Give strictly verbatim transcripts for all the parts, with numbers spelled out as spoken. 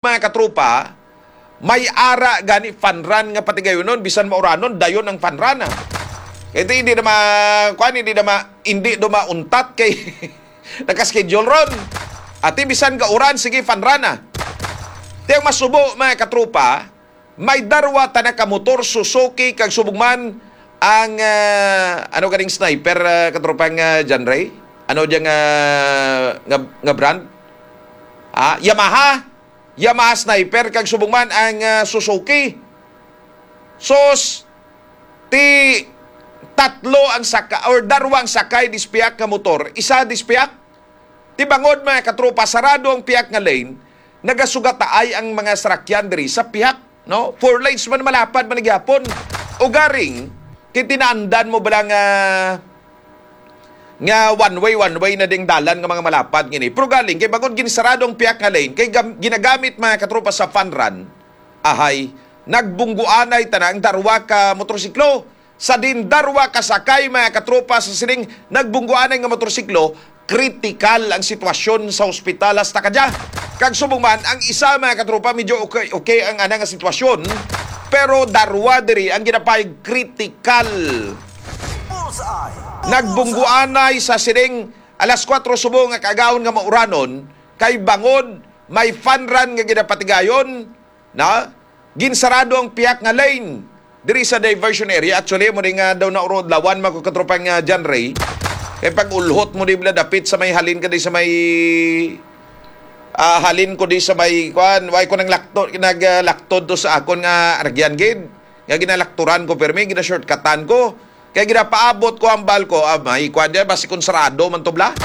mga katropa, may ara gani fun run nga patigayonon, bisan mauranon, dayon ang fun run, ah. Kay di, hindi na ma-, kuwan, hindi na ma-, hindi na mauntat kay naka-schedule ron. Ati, bisan gauran, sige, fun run, ah. Ti ang masubo, mga katropa, may darwa ta na ka motor, Suzuki, kag subong man ang, ah, ano ganing sniper, ah, katropang, ah, John Ray? Ano diya nga, nga, nga brand? Ah, Yamaha. Yamaha Sniper, kag subong man ang, ah, Suzuki. Sus, ti tatlo ang saka-, or darwa ang sakay dis piyak nga motor, isa dis piyak. Ti bangod, mga katropa, sarado ang piyak nga lane, nagasugat taay ang mga sarakyan diri sa piyak, no? Four lanes man, malapad man gyapon. Ugaring, ti tinaandan mo bala nga nga one way, one way na ding dalan nga mga malapad ngini. Pero galing, kay bangod ginsarado ang piyak nga lane, kay gam-, ginagamit, mga katropa, sa fun run, ahay, nagbungguanay tana ang darwa ka motorsiklo. Sa din darwa ka sakay, mga katropa, sa sining nagbungguanay nga motorsiklo, kritikal ang sitwasyon sa ospital hasta kadya. Kag subong man, ang isa, mga katropa, medyo okay, okay ang ana nga sitwasyon, pero darwa diri ang ginapahayag kritikal. Nagbungguanay sa sining alas kuwatro subong nga kaagahon nga mauranon, kay bangod may fun run nga ginapatigayon, na ginsarado ang piyak nga lane diri sa diversion area. Actually, mo di nga daw na uro adlawan, mga katropang, ah, John Ray. Kay pag-ulhot mo di bala dapit sa may halin ka di sa may, ah, halin ko di sa may, kuan, way ko nang lakto, nag, ah, laktod to sa akon nga aragyan gid. Nga ginalakturan ko, pirmi, gina-shortcutan ko. Kay ginapaabot ko ang bal ko, ah, may kuan diyan, basi kung sarado man to bala.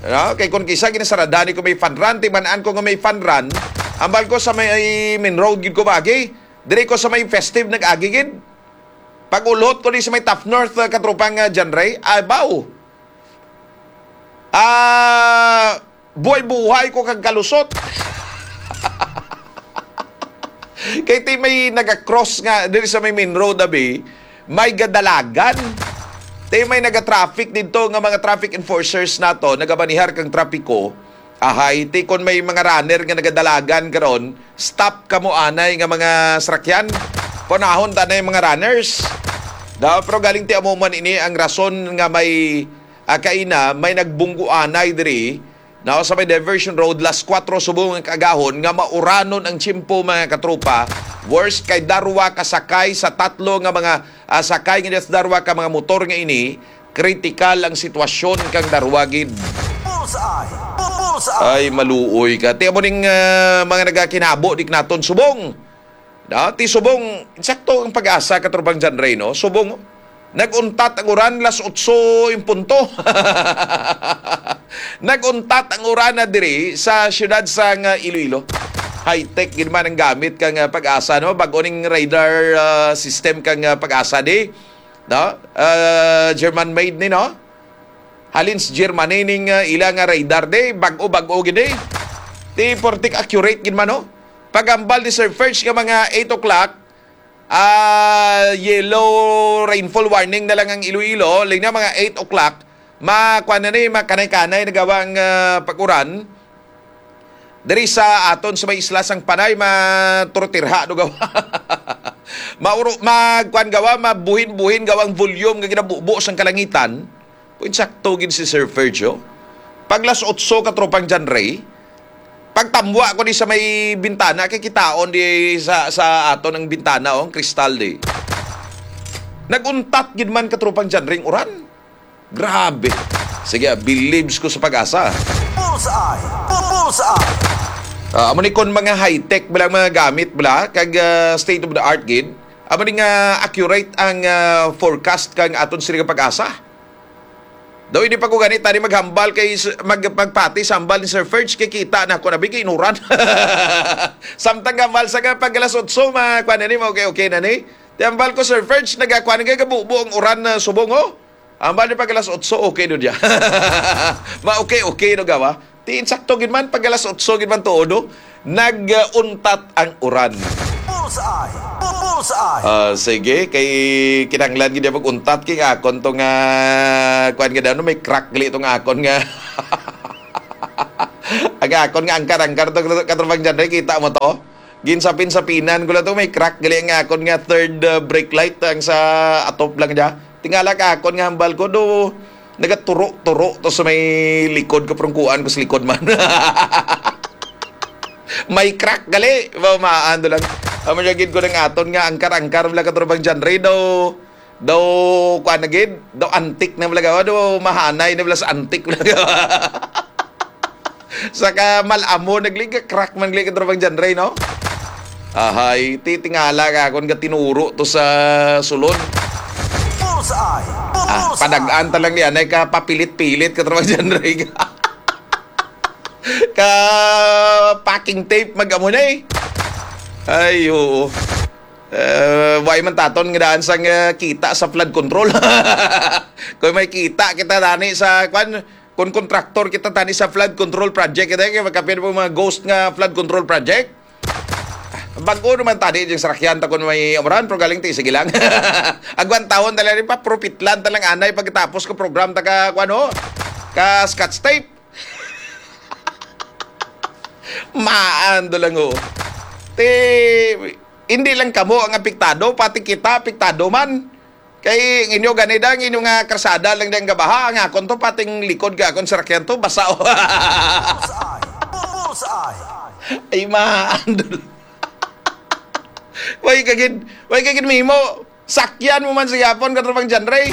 Ah, kay kung kisa ginasarada ni ko may fun run, timan-an ko nga may fun run, ang bal ko sa may main road gid ko maagi. Diri ko sa may festive nag-agi gid. Pag-ulot ko di sa may Top North, ah, katropang, ah, John Ray, ay, baw. Ah, buhay-buhay ko kag kalusot. Kay ti may naga-cross nga diri sa may main road, abi, may gadalagan. Ti may naga-traffic didto nga mga traffic enforcers nato, nagamanihar kang trapiko. Ahay, ti kon may mga runner nga nagadalagan karon, stop kamo anay nga mga sarakyan. Panahon ta na yung mga runners. Da, pero galing ti amo man ini ang rason nga may, ah, kaina, may nagbunggo anay diri. Now, sa may diversion road, las kuwatro subong ang kaagahon nga mauranon ang tiyempo, mga katropa. Worst kay darwa ka sakay sa tatlo nga mga, ah, sakay nga darwa ka mga motor nga ini, kritikal ang sitwasyon kang darwa gid. Bullseye! Bu-, bullseye! Ay, maluoy ka. Ti amo ning, ah, mga nagakinabo di naton subong. No? Ti subong, insakto ang pag-asa, katropang John Ray, no? Subong, nag-untat ang uran, las otso in punto. Nag-untat ang uran na diri sa siyudad sang, ah, Iloilo. High-tech gid man ang gamit kang, ah, pag-asa, no? Bag-o ning radar, ah, system kang, ah, pag-asa di, no? Ah, German made ni, no? Halin sa Germany ning, ah, ila nga radar di, bag-o-bag-o gid di. Ti portik accurate gid man, no? Pag-ambal ni Sir Ferch nga mga eight o'clock, ah, yellow rainfall warning na lang ang Iloilo, lingna mga eight o'clock, ma-, kuwan na ni, makanay-kanay na gawa ang, ah, pag-uran. Diri sa aton sa may isla sang Panay, maturutirha do gawa. Mauro, magkuan gawa, mabuhin-buhin gawa ang volume nga ginabubo sang kalangitan. Kung insakto gid si Sir Fergio. Pag las otso, katropang John Ray, pagtamwa ko di sa may bintana, kay kitaon di sa, sa aton ang bintana, oh, ang kristal di. Nag-untat gid man, katropang John Ray, ang uran. Grabe. Sige, ah, believes ko sa pag-asa. Bullseye! Bu-, bullseye! Ah, amo ni kon mga high-tech bala, mga gamit bala, kag, ah, state of the art gid. Amo ni nga accurate ang, ah, forecast kang aton sila nga pag-asa. Daw hindi pa ko gani tani maghambal kay s-, mag-, magpati sa hambal ni Sir Ferge, kay kita na ko na bigay inuran. Samtang hambal sa nga pag alas otso, ma-, kuan na ni, ma-, okay, okay na ni. Ti hambal ko, Sir Ferge, nagakuan nga gabubo ang uran na subong, oh. Ambal ni pag alas otso, okay do diya. Ma-, okay, okay no gawa. Ti insakto gid man, pag alas otso gid man tuod, no? Nag-untat ang uran. Bullseye! Bu-, bullseye! Ah, sige, kay kinahanglan gid niya mag-untat kay akon to nga, kuan gid ano, may crack gali to nga akon nga. Ang akon nga angkar-angkar to, katropang John Ray, kita mo to? Ginsapin-sapinan ko lang to, may crack gali ang akon nga third, uh, brake light ang sa atop lang niya. Tingala ka akon nga hambal ko, do, nagaturo-turo to sa may likod ko, pero kuan ko sa likod man. May crack gali, ba, maando lang. Amo niya gid ko ng aton nga angkar-angkar, wala katropang John Ray, daw, daw, kuan na gid, daw antik na wala gawa, daw mahanay na wala sa antik wala gawa. Saka mal-amo, nagliga crack man gliga tropang John Ray, no? Ahay, titingala ka kung gatinuro to sa sulod. Bullseye! Ah, Bullseye! Padagaan ta lang yan, ay ka papilit-pilit ka tropang John Ray. Ka packing tape, mag-amo na eh. Ay, oo. Eh, way man taton nga daan sang, eh, kita sa flood control. Kung may kita kita dani sa, kwan, kung kontraktor kita tani sa flood control project, kita kay magkapin po mga ghost nga flood control project. Bago naman tani yung sarakyan ta kung may umuran, pero galing ti, sige lang. Agwan taon talaga rin pa, propitlan talang anay pagkatapos ko program ta ka, kwan, ho? Ka scotch tape. Maan do lang, oh. Ti, hindi lang kamo ang apektado, pati kita apektado man. Kay inyo gani da, ang inyo nga karsada lang dang gabaha, ang akon to, pating likod ka akon sarakyan to, basa, oh. Bullseye! Bullseye! Ay, maan do lang. Way kagid, way kagid mimo. Sakyan mo man sa yapon, katropang John Ray.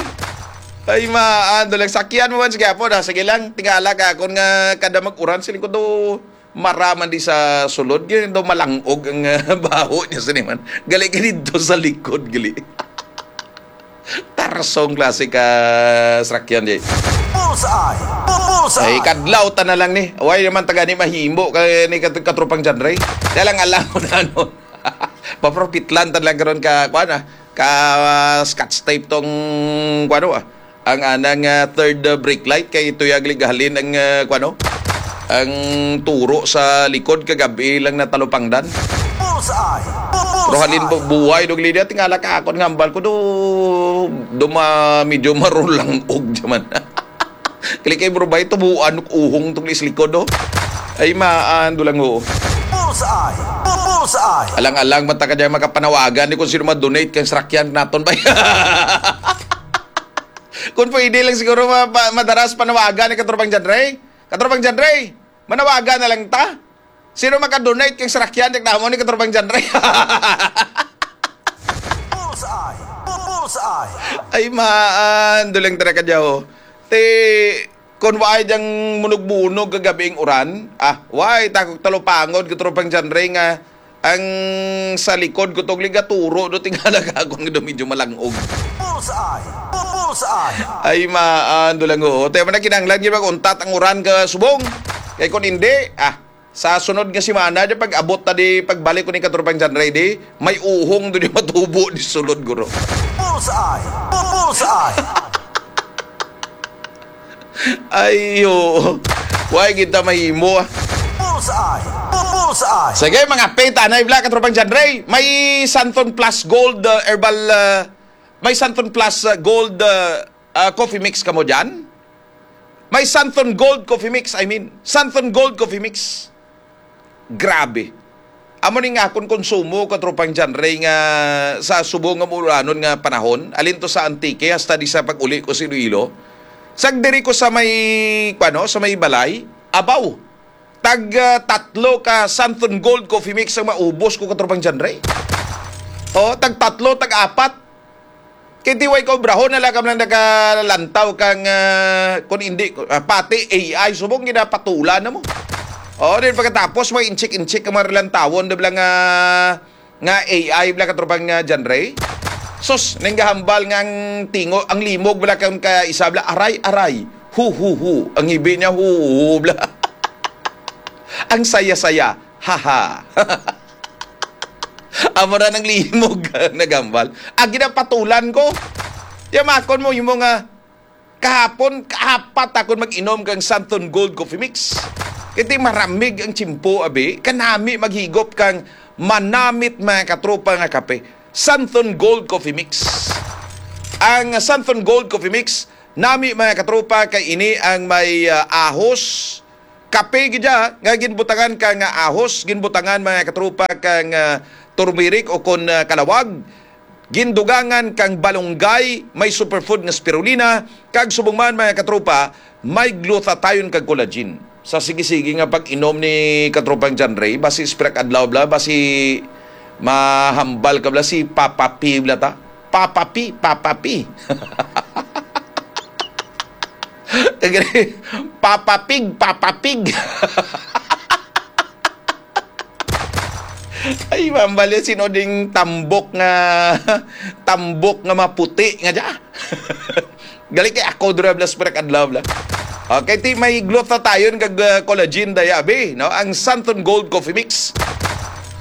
Ay, maan do lang, sakyan mo man sa yapon, ha? Sige lang, tingala ka, akon nga kada mag-uran, siling ko do, maraman di sa sulod, gini do malangog ang, ah, baho niya sa niman. Gali ka dito sa likod, gali. Tarsong klase ka sakyan, di. Bullseye! Bullseye! Ay, kadlaw ta na lang ni. Way naman taga ni mahimo ka ni kat-, katropang John Ray. Kaya lang alam mo na, ano. Papropitlan ta lang karon ka, kuan, ah, ka, ah, scotch tape tong, kuan, ah, ang anang, ah, third, ah, brake light kay tuyag ligahalin ang, ah, kuan, oh, ang turo sa likod kagabi lang natalupangdan. Bullseye! Pero halin bu-, buhay dog lidia, tingala ka akon nga hambal ko do, do ma-, medyo marulang og jaman. Kali kay bro, bay, tubuan, uhong tong is likod, oh. Ay, maan, dulang, oh. Bullseye! Bullseye! Alang-alang, mata ka dyan, makapanawagan, di kung sino ma-donate kang sarakyan naton, bay. Kung pwede lang siguro, ma-, pa-, madaras panawagan ni Katropang John Ray. Katropang John Ray, manawagan na lang ta. Sino maka-donate kang sarakyan, di namo ni Katropang John Ray. Bullseye! Bullseye! Ay, maan, dulang tara ka dyan, oh. Te, kung waay diyang munog-munog kagabi ang uran, ah, waay, takog talupangod, Katropang John Ray, nga ang sa likod ko tong ligaturo do tingala ka akong do medyo malangog. Bullseye! Bullseye! Ay, maan, do lang, oo. Tayo man na kinahanglan, yun mag-untat ang uran ka subong. Kay kung hindi, ah, sa sunod nga semana, di pag-abot ta di, pagbalik ko ni Katropang John Ray, di, may uhong do di matubo di sulod, guro. Bullseye! Bullseye! Ay, oo. Why kita mahimo, ah? Bullseye! Bullseye! Sige, mga peta na ibla, Katropang John Ray. May Santon Plus Gold, uh, Herbal, uh, may Santon Plus, uh, Gold, uh, uh, Coffee Mix kamo dyan? May Santon Gold Coffee Mix, I mean. Santon Gold Coffee Mix. Grabe. Amo ni nga akon konsumo, Katropang John Ray, nga sa subong nga muulanon nga panahon, alin to sa Antique hasta di sa pag-uli ko sa Iloilo. Sag diri ko sa may, kuano, sa may balay, abaw. Tag, ah, tatlo ka Santon Gold Coffee Mix ang maubos ko, Katropang John Ray. Oh, tag tatlo, tag apat. Kay di way ka obrahon na lang ka man nakalantaw kang, ah, kung hindi, ah, pati A I, subong ginapatulan na mo. Oh, din pagkatapos mo inchik-inchik ka mga lantawon, di ba lang, ah, nga A I bla, Katropang, ah, John Ray? Sus, nang gahambal nga ang tingo, ang limog bla, kang ka isa bla, aray, aray, hu, hu, hu. Ang hibi niya, hu, hu, hu, bla. Ang saya-saya, ha, ha. Amo ra nang limog, nagambal. Ang ginapatulan ko. Yamakon mo, yung mga kahapon, kaapat akon mag-inom kang Santon Gold Coffee Mix. Kay ti maramig ang tiyempo, abi, kanami maghigop kang manamit, mga katropa, nga kape. Santon Gold Coffee Mix. Ang Santon Gold Coffee Mix, nami, mga katropa, kay ini ang may, ah, ahos, Kape gid siya nga ginbutangan kang ahos, ginbutangan, mga katropa, kang, ah, turmeric o kon, ah, kalawag. Gindugangan kang balunggay, may superfood nga spirulina, kag subong man, mga katropa, may glutathione kag collagen. Sa sige-sige nga pag-inom ni katropang John Ray, basi spirak adlaw bla, basi mahambal ka bla si Papa P bla ta. Papa P, Papa P. Papapig, papapig. Ay, mambali, sino ding tambok nga, tambok nga maputi nga dya? Gali kay ako, dura, blas, prak, adlaw, bla. Okay, ti may glutathione kag, uh, collagen, dayabi, no? Ang Santon Gold Coffee Mix.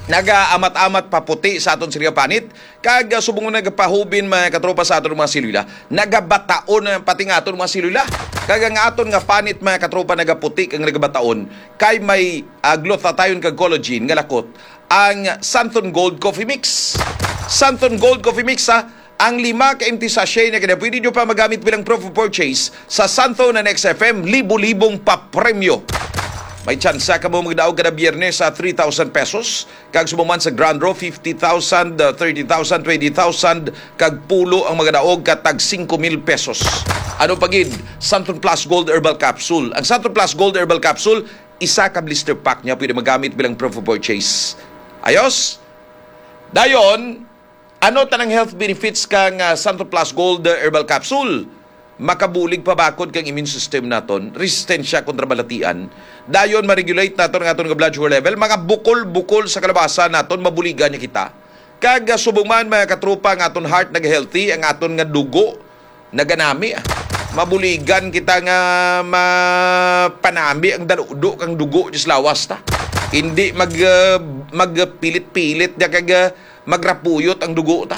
Nagaamat-amat paputi sa aton sila panit. Kag, ah, subong nga nagapahubin, mga katropa, sa aton mga selula, nagabataon, ah, pati nga aton mga selula. Kag ang aton nga panit, mga katropa, nagaputi kag nagabataon, kay may, ah, glutathione kag collagen nga lakot ang Santon Gold Coffee Mix. Santon Gold Coffee Mix, ha, ang lima ka empty sachet na kaya pwede nyo pa magamit bilang proof of purchase sa Santon and X F M, libo-libong papremyo. May tsansa ka mo magdaog kada Biyernes sa three thousand pesos. Kag subong man sa Grand Draw, fifty thousand, uh, thirty thousand, twenty thousand, kag pulo ang magadaog ka tag singko mil pesos. Ano pa gid? Santon Plus Gold Herbal Capsule. Ang Santon Plus Gold Herbal Capsule, isa ka blister pack niya pwede magamit bilang proof of purchase. Ayos? Dayon, ano tanang health benefits kang, ah, Santon Plus Gold, uh, Herbal Capsule? Makabulig pabakod kang immune system naton, resistensya kontra balatian. Dayon, ma-regulate naton ang aton nga blood sugar level. Mga bukol-bukol sa kalabasa naton, mabuligan niya kita. Kag, ah, subong man, mga katropa, ang aton heart nag-healthy, ang aton nga dugo naganami, ah. Mabuligan kita nga mapanami ang danudo kang dugo diyas lawas ta. Hindi mag, ah, magpilit-pilit niya kag, ah, magrapuyot ang dugo ta.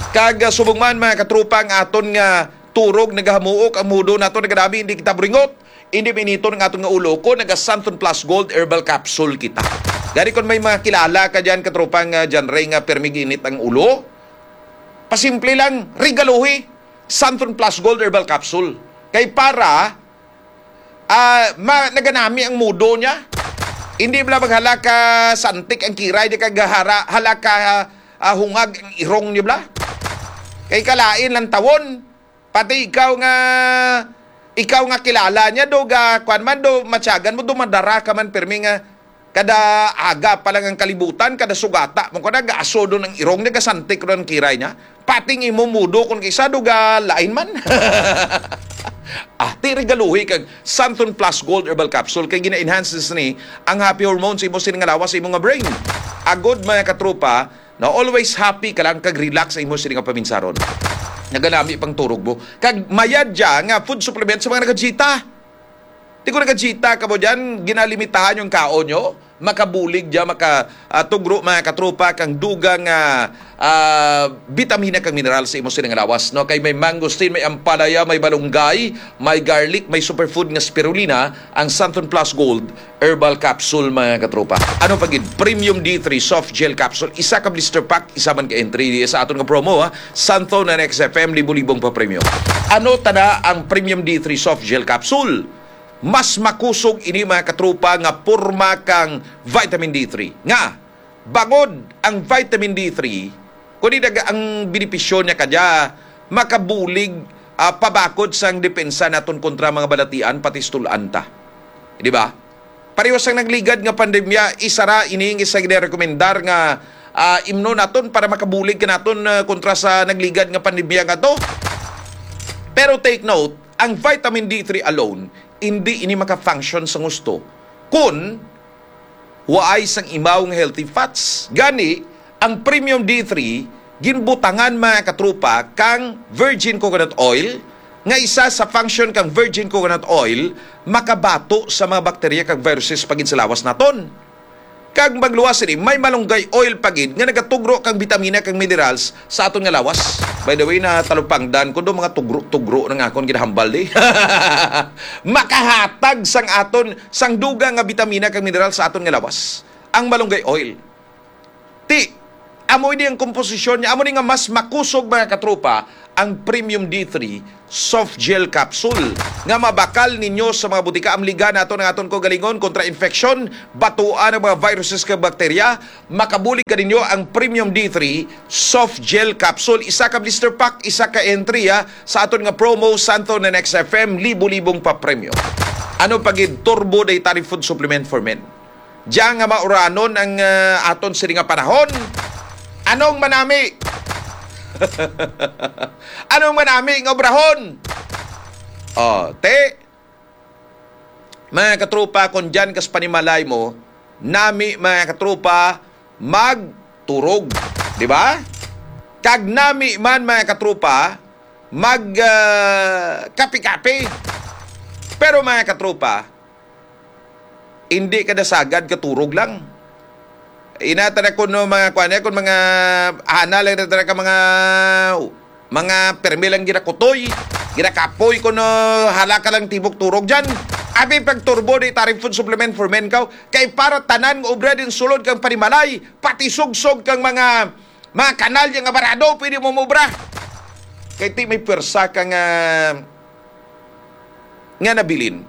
Kag, ah, subong man, mga katropa, ang aton nga turog nagahamuok, ang mudo nato nagadami, hindi kita buringot, hindi mainiton ang aton nga ulo kon naga Santon Plus Gold Herbal Capsule kita. Gani kon may mga kilala ka dyan, katropang, ah, John Ray, nga permi init ang ulo, pasimple lang, regaluhi Santon Plus Gold Herbal Capsule. Kay para, ah, ma-, naganami ang mudo niya. Hindi bala maghala ka santik ang kiray di kag hara-, hala ka, ah, hungag ang irong niyo bala. Kay kalain lang tawon, pati ikaw nga, ikaw nga kilala niya, do ga, kwan man, do matyagan mo, do madara ka man, pirmi nga, kada aga pa lang ang kalibutan, kada sugata mo, kada gaasodon ang irong niya, gasantik ron ang kiray niya. Pating imo mudo kung kisa do ga lain man. Ah, ti regaluhi kag Santon Plus Gold Herbal Capsule kay gina-enhance ni ang happy hormones imo sini nga lawas sa imo nga brain. Agod, mga katropa, na always happy ka lang kag relax sa imo sini nga paminsaron. Naganami pang turog mo. Kag mayad dya nga food supplement sa mga nagajita. Di ko nagajita ka mo dyan, ginalimitahan yung kaon nyo. Makabulig dya, maka, ah, tugro, mga katropa, kang dugang, ah, ah, bitamina kang mineral sa imo sining lawas, no? Kay may mangosteen, may ampalaya, may balunggay, may garlic, may superfood nga spirulina, ang Santon Plus Gold Herbal Capsule, mga katropa. Ano pa gid? Premium D three Soft Gel Capsule, isa ka blister pack, isa man ka entry sa aton nga promo, ha? Santon and X F M, libo-libong pa premyo. Ano tana ang Premium D three Soft Gel Capsule? Mas makusog ini, mga katropa, nga porma kang vitamin D three. Nga, bangod ang vitamin D three, kundi daga ang benepisyo niya kadya, makabulig, ah, pabakod sang depensa naton kontra mga balatian, pati sa tul-an ta. Di ba? Pareho sang nagligad nga pandemya, isa ra ini nga isa ginarekomendar nga, ah, imnon naton para makabulig ka naton, ah, kontra sa nagligad nga pandemya nga to. Pero take note, ang vitamin D three alone, hindi ini maka-function sa gusto kun waay sang imaw nga healthy fats. Gani, ang premium D three, ginbutangan, mga katropa, kang virgin coconut oil, nga isa sa function kang virgin coconut oil, makabato sa mga bakterya kag viruses pa gid sa lawas naton. Kag magluwas sini, may malunggay oil pa gid nga nagatugro kang bitamina kag minerals sa aton nga lawas. By the way, na talupangdan ko do mga tugro-tugro na nga akon ginahambal di. Makahatag sang aton sang dugang nga bitamina kag mineral sa aton nga lawas. Ang malunggay oil. Ti, Amo ini ang komposisyon niya. Amo ni nga mas makusog, mga katropa, ang Premium D three Soft Gel Capsule nga mabakal ninyo sa mga butika. Amligan nato ang aton kaugalingon kontra infection, batuan ang mga viruses kag bakterya. Makabulig kaninyo ang Premium D three Soft Gel Capsule. Isa ka blister pack, isa ka entry, ha, sa aton nga promo, Santo na Next F M, libo-libong papremyo. Ano pa gid, Turbo Dietary Food Supplement for Men. Diya nga mauranon ang, ah, aton sini nga panahon. Anong manami? Anong manami nga obrahon? Oh, te, mga katropa, kung diyan kas panimalay mo, nami, mga katropa, magturog, di ba? Kag nami man, mga katropa, mag, ah, kape-kape. Pero, mga katropa, hindi ka nasagad katurog lang. Ina ta na kuno mga kuan, eh, kun mga ana lang na ta na ka mga, mga permi lang ginakutoy, ginakapoy kuno, hala ka lang tibok turog diyan. Abi pag Turbo Dietary Food Supplement for Men kaw, kay para tanan nga obra din sulod kang panimalay, pati sugsog kang mga, mga kanal nga barado, pwede mo mobra. Kay ti may pwersa ka nga, nga nabilin.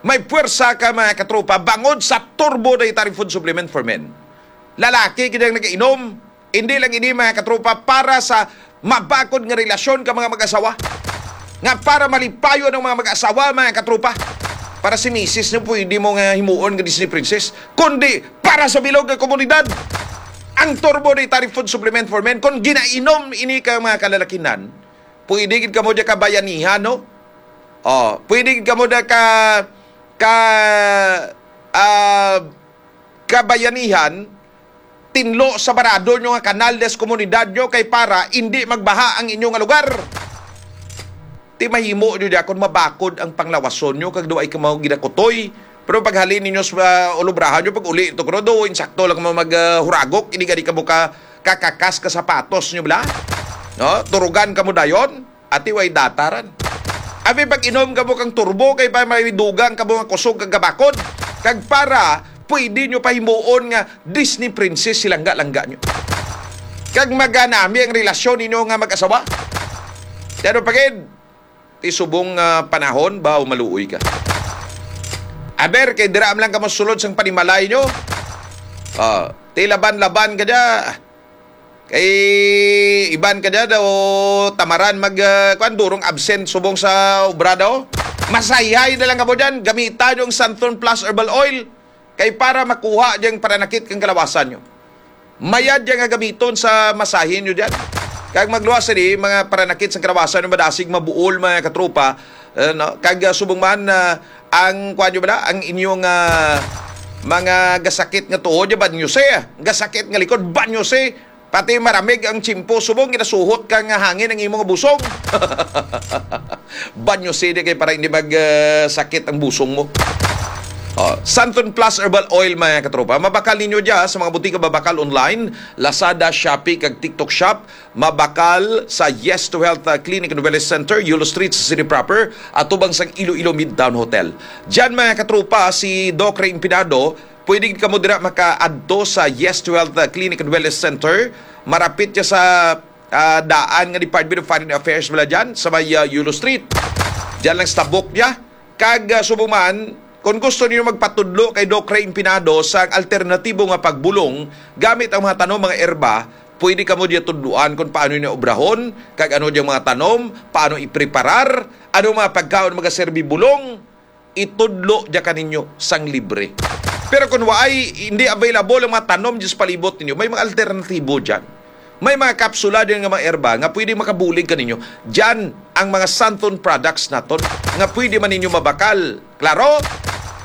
May pwersa ka, mga katropa, bangod sa Turbo Dietary Food Supplement for Men. Lalaki gid ang nagainom, hindi lang ini, mga katropa, para sa mabakod nga relasyon ka mga mag-asawa. Nga para malipayon ang mga mag-asawa, mga katropa. Para si misis nyo, pwede mo nga himuon nga Disney princess. Kundi para sa bilog nga komunidad. Ang Turbo Dietary Food Supplement for Men, kung ginainom ini ka mga kalalakinan, pwede gid kamo diya kabayanihan, no? Oh, pwede gid kamo diya ka, ka, ah, kabayanihan, tinlo sa barado nyo nga kanal des komunidad nyo kay para hindi magbaha ang inyo nga lugar. Ti mahimo nyo diya kung mabakod ang panglawason nyo kag duay ka mga ginakutoy. Pero paghalin ninyo sa, ah, ulubrahan nyo, pag uli ito, kuno do, insakto lang mo mag, ah, huragok, hindi gani ka mo ka kakakas ka sapatos nyo bala. No? Turugan ka mo dayon, ati way dataran. Abi pag inom ka mo kang turbo, kay pa may dugang ka mo nga kusog kag gabakod. Kag para, pwede nyo pahimuon nga Disney princess si langga-langga nyo. Kag maganami ang relasyon ninyo nga mag-asawa. Pero pagid, ti subong, ah, panahon ba o maluoy ka? Aber, kay dira man lang ka masulod sang panimalay nyo. Ah, ti laban-laban ka dya. Kay iban ka dya daw tamaran mag, ah, kwan, durong absent subong sa obra daw. Masayhay na lang ka mo dyan. Gamita nyo ang Santon Plus Herbal Oil. Kay para makuha dyan paranakit kang kalawasan nyo. Mayad dyan nga gamiton sa masahin nyo dyan. Kag magluwas sa di, mga paranakit sa kalawasan nyo, madasig mabuol, mga katropa. Eh, no? Kag, ah, subong man, ah, ang, kuwan nyo ba na? Ang inyong, ah, mga gasakit nga tuhod, ya, banyose. Gasakit nga likod, banyose. Pati maramig ang tsimpo, subong ginasuhot ka nga hangin ang imong busong. Banyo sidi kay para hindi mag, ah, sakit ang busong mo. Oh, Santon Plus Herbal Oil, mga katropa. Mabakal ninyo dya sa mga butika babakal online, Lazada, Shopee, kag TikTok Shop. Mabakal sa Yes to Health, ah, Clinic and Wellness Center, Yulo Street sa City Proper, atubang sang Iloilo Midtown Hotel. Dyan, mga katropa, si Doc Ray Impinado, pwede kamo dira makaadto sa Yes to Health, ah, Clinic and Wellness Center. Marapit siya sa, ah, daan nga Department of Foreign Affairs bala dyan, sa may, ah, Yulo Street. Dyan lang sa tabok niya. Kag, ah, subong man, kung gusto niyo magpatudlo kay Doc Ray Impinado sa alternatibo nga pagbulong gamit ang mga tanom, mga erba, pwede kamo diya tudluan kung paano niya obrahon, kag ano diyang mga tanom, paano ipreparar, ano mga pagkaon magaserbi bulong, itudlo diya kaninyo sang libre. Pero kung waay, hindi available ang mga tanom dyan sa palibot ninyo, may mga alternatibo dyan. May mga kapsula din nga mga erba nga pwede makabulig kaninyo. Dyan ang mga Santon products naton nga pwede man ninyo mabakal. Klaro?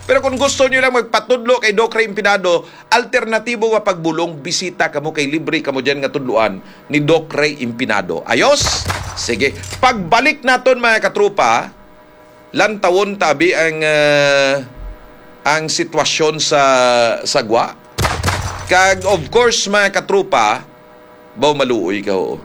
Pero kung gusto nyo lang magpatudlo kay Doc Ray Impinado, alternatibo nga pagbulong, bisita kamo kay libre kamo dyan nga tudluan ni Doc Ray Impinado. Ayos? Sige. Pagbalik naton, mga katropa, lantawon tabi ang, ah, ang sitwasyon sa, sa gwa. Kag of course, mga katropa, baw maluoy ka, oo.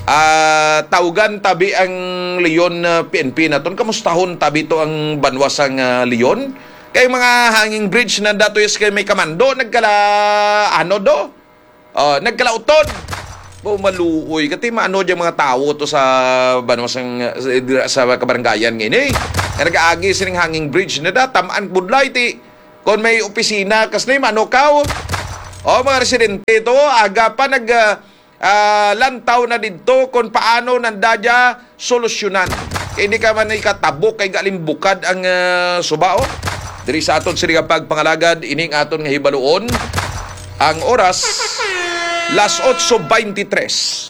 Ah, tawgan tabi ang Leon, ah, P N P naton. Kamustahon tabi to ang banwa sang, ah, Leon. Kay mga hanging bridge na dato is kay may kamando, nagkala, ano do? Oh, nagkalauton. Bo, maluoy kati, maano dyan mga tawo to sa banwa sang, sa, sa kabaranggayan nga ini nga nagaagi sining hanging bridge na da, tamaan budlay ti kon may opisina kas ni mano kaw. Oh, mga residente to, aga pa nag ah, ah, lantaw na didto kon paano nanda dya solusyonan. Kay hindi ka man ikatabok kay galimbukad ang ah, suba, oh. Diri sa aton sini nga pagpangalagad, ining aton nga hibaluon. Ang oras, las otso veintitrés.